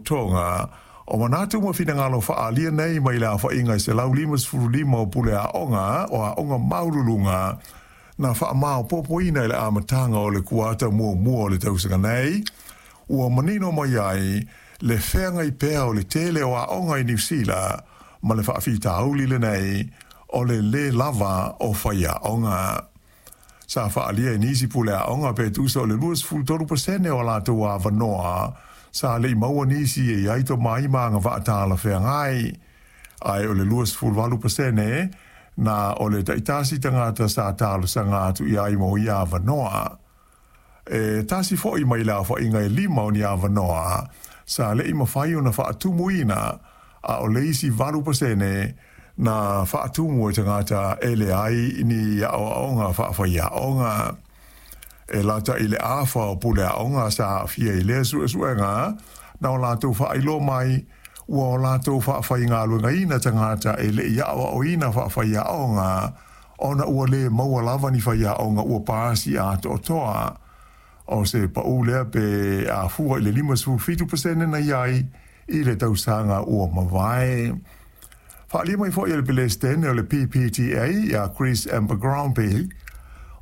Faalapotopotoga o manatu ma finagalo faaalia nei mai le aofaiga e 155 o pule aoga o aoga maualuluga na faamaopoopoina i le amataga o le kuata muamua o le tausaga nei, ua manino mai ai le feagai pea o le tele o aoga i Niu Sila ma le faafitauli lenei o le lē lava o faiaoga. Sa faaalia e nisi pule aoga pe tusa o le 23% o a latou avanoa sa le i maua nisi e i ai tomai ma agavaa talafeagai, ae o le 28% na o le taitasi tagata sa talosaga atu i ai mo ia avanoa. E tasi foi mai le aofaiga e lima o ni avanoa sa le i mafai ona faatumuina, a o le isi 8% na faatumu e tagata e leai ni aoaoga faafaiaoga. E lata i le afa o pule aoga sa aafia i lea suesuega na o latou faailoa mai ua o latou faafaigaluegaina tagata e le i aoaoina faafaiaoga ona ua lē maua lava ni faiaoga ua pasi atoatoa. O se paū lea pe a fua i le 57% na i ai i le tausaga ua mavae. Faaalia mai foi e le Pelesitene o le PPTA ia Chris Abercrombie,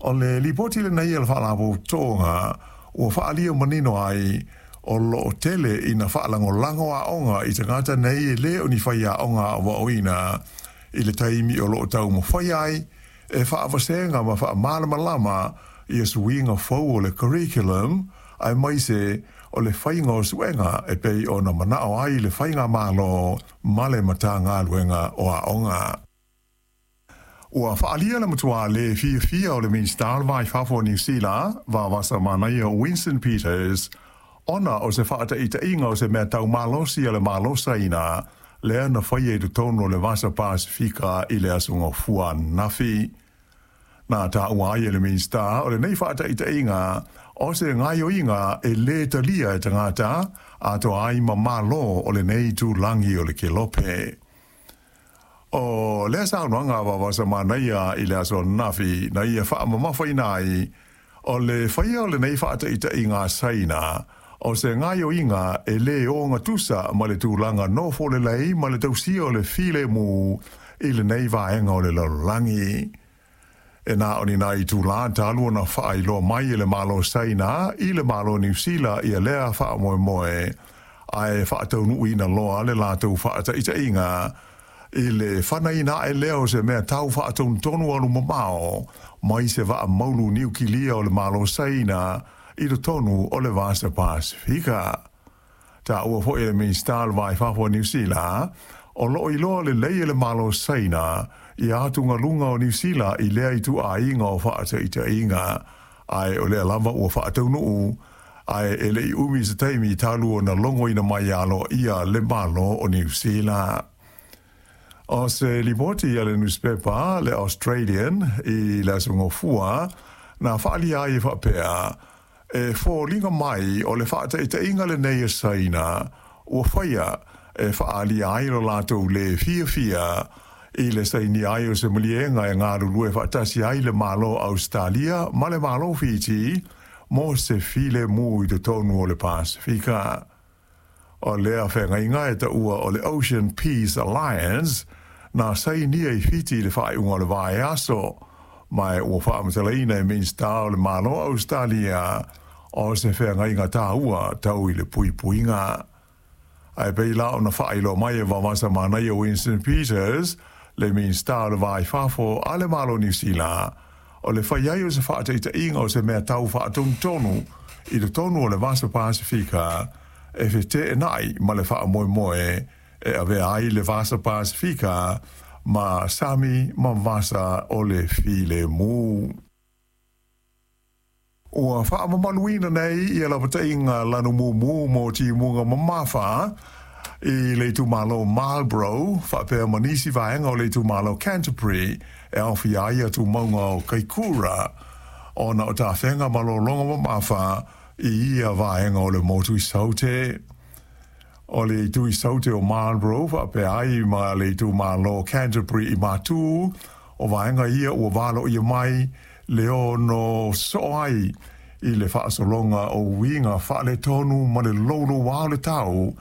o le lipoti lenei a le Faalapotopotoga ua faaalia manino ai o lo o tele ina faalagolago aoga i tagata nei e lē o ni faiaoga aoaoina i le taimi o lo o taumafai ai e faavasega ma faamalamalama ia suiga fou o le curriculum aemaise o le faiga o suega e pei ona manao ai le Faigamalo ma le Matagaluega o Aoga. Ua faaalia le matua le fiafia o le Minisita o le Va i Fafo o Niu Sila, Vaavasamanaia Winston Peters, ona o se faataitaiga o se mea tau malosi a le Malo Saina lea na faia i totonu o le Vasa Pasefika i le Aso Gafua ananafi. Na taua ai e le Minisita o lenei faataitaiga o se gaoioiga e lē talia e tagata atoa ai ma Malo o lenei itulagi o le Kelope. O lea saunoaga a Vaavasamanaia i le aso ananafi na ia faamamafaina ai o le faia o lenei faataitaiga a Saina o se gaoioiga e lē ogatusa ma le tulaga nofo lelei ma le tausia o le filemu i lenei vaega o le lalolagi. E na o ni nai itulā talu ona faailoa mai e le Malo Saina i le Malo Niu Sila ia lea faamoemoe, ae faataunuuina loa le latou faataitaiga i le fanaina ae lea o se mea tau faatonutonu alu mamao mai se vaa maulu niukilia o le Malo Saina i totonu o le Vasa Pasefika. Taua foi e le Minisita o le Va i Fafo o Niu Sila, o lo o iloa lelei e le Malo Saina ia atugaluga o Niu Sila i lea ituaiga o faataitaiga, ae o lea lava ua faataunuu, ae e le i umi se taimi talu ona logoina mai aloaia le Malo o Niu Sila. O se lipoti a le nusipepa le Australian i le Aso Gafua na faaalia ai e faapea, e foliga mai o le faataitaiga lenei a Saina ua faia e faaalia ai lo latou lē fiafia i le sainia ai o se maliega e galulue faatasi ai le Malo Ausetalia ma le Malo Fiti mo se filemu i totonu o le Pasefika. O lea feagaiga e taua o le Ocean Peace Alliance na sainia i Fiti i le faaiuga o le vaiaso, ma ua faamatalaina e Minisita o le Malo Ausetalia o se feagaiga taua tau i le puipuiga. Ae pei la ona faailoa mai e Vaavasamanaia Winston Peters, le Minisita o le Va i Fafo a le Malo Niu Sila, o le fai ai o se faataitaiga o se mea tau faatonutonu i totonu o le Vasa Pasefika e feteenai ma le faamoemoe e avea ai le Vasa Pasefika ma sami ma vasa o le filemu. Ua faamamaluina nei ia lapataiga lanu mumu mo timuga mamafa i le itumalo Marlborough faapea ma nisi vaega o le itumalo Canterbury e aofia ai tumauga o Kaikura ona o tafega ma lologa mamafa i ia vaega o le motu i Saute. O le itu i Saute o Marlborough faapea ai ma le itumalo Canterbury i Matū, o vaega ia ua valoia mai le ono soo ai i le faasologa o uiga faaletonu ma le louloua o le tau.